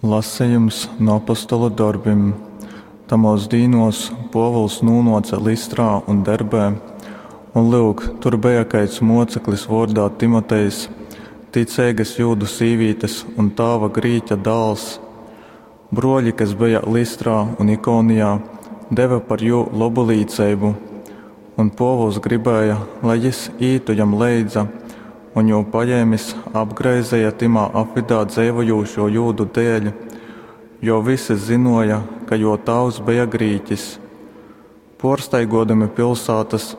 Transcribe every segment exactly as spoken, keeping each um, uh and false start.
Lasejums nu Apostolu dorbim. Tamōs dīnōs Pōvuls nūnōce Lystrā un Derbē, un, lyuk, tur beja kaids mōceklis vōrdā Timotejs, ticeigas jūdu sīvītes un tāva grīķa dāls. Brōļi, kas beja Lystrā un Ikonijā, deve par jū lobu līceibu. Un Pōvuls gribēja, lai jys ītu jam leidza, un jū pajēmis apgraizeja tymā apvydā dzeivojūšo jūdu dēļ, jo vysi zynōja, ka jō tāvs beja grīkis. Pōrstaigōdami pilsātas,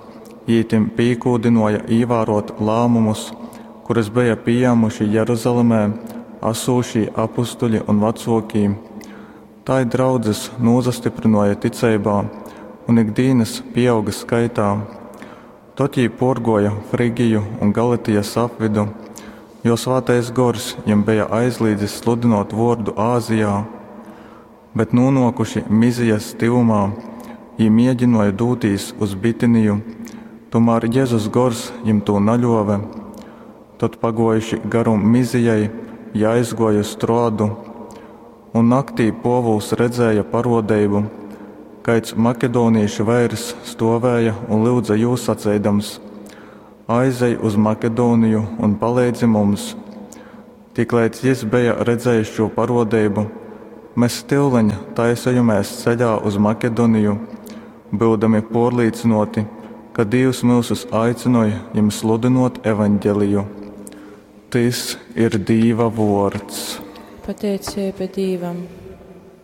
jī tim pīkūdynōja īvārōt lāmumus, kurus beja pījāmuši Jeruzalemē asūšī apustuļi un vacōkī. Tai draudzes nūsastyprynōja ticeibā un ik dīnas pīauga skaitā. Tod jī pōrgōja Frygiju un Galatijas apvydu, jo Svātais Gors jim beja aizlīdzis sludynōt vōrdu Azijā. Bet nūnōkuši Myzijas tyvumā, jī mēginōja dūtīs uz Bitiniju, tūmār Jezus Gors jim tū naļōve. Tod, pagōjuši garum Myzijai, jī aizgōja uz Troadu. Un naktī Pōvuls redzēja parōdeibu, kaids makedonīšu veirs stōvēja un lyudze jū saceidams: Aizej uz Makedoniju un paleidzi mums! Tikleidz jys beja redzējis šū parōdeibu, mes tyuleņ taisejomēs ceļā uz Makedoniju, byudami pōrlīcynōti, ka Dīvs myusus aicynoj jim sludynōt Evangeliju. Tys ir Dīva vōrds. Pateiceiba Dīvam.